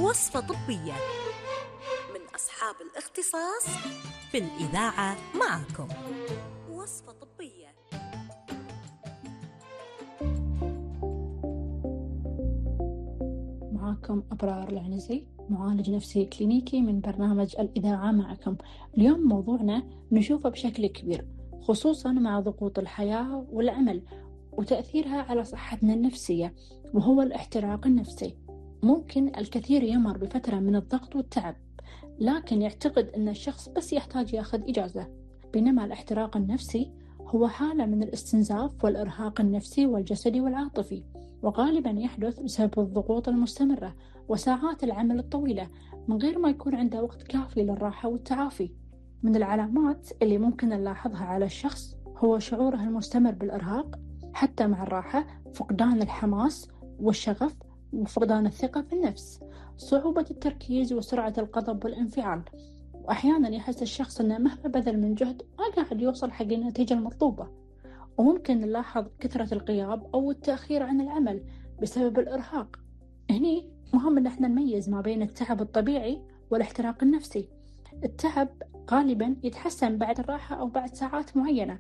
وصفة طبية من أصحاب الاختصاص في الإذاعة معكم. وصفة طبية. معكم أبرار العنزي، معالج نفسي كلينيكي من برنامج الإذاعة معكم. اليوم موضوعنا نشوفه بشكل كبير، خصوصا مع ضغوط الحياة والعمل وتأثيرها على صحتنا النفسية، وهو الاحتراق النفسي. ممكن الكثير يمر بفترة من الضغط والتعب، لكن يعتقد أن الشخص بس يحتاج ياخذ إجازة، بينما الاحتراق النفسي هو حالة من الاستنزاف والإرهاق النفسي والجسدي والعاطفي، وغالبا يحدث بسبب الضغوط المستمرة وساعات العمل الطويلة من غير ما يكون عنده وقت كافي للراحة والتعافي. من العلامات اللي ممكن نلاحظها على الشخص هو شعوره المستمر بالإرهاق حتى مع الراحة، فقدان الحماس والشغف وفقدان الثقة في النفس، صعوبة التركيز وسرعة الغضب والانفعال، وأحيانا يحس الشخص أنه مهما بذل من جهد ما قاعد يوصل حق النتيجة المطلوبة. وممكن نلاحظ كثرة الغياب أو التأخير عن العمل بسبب الإرهاق. هني مهم أن احنا نميز ما بين التعب الطبيعي والاحتراق النفسي. التعب غالبا يتحسن بعد الراحة أو بعد ساعات معينة،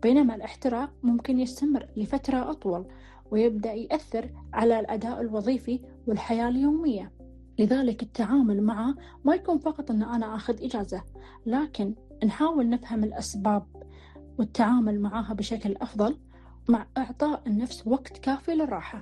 بينما الاحتراق ممكن يستمر لفترة أطول ويبدأ يأثر على الأداء الوظيفي والحياة اليومية. لذلك التعامل معه ما يكون فقط أن أنا أخذ إجازة، لكن نحاول نفهم الأسباب والتعامل معها بشكل أفضل، مع إعطاء النفس وقت كافي للراحة.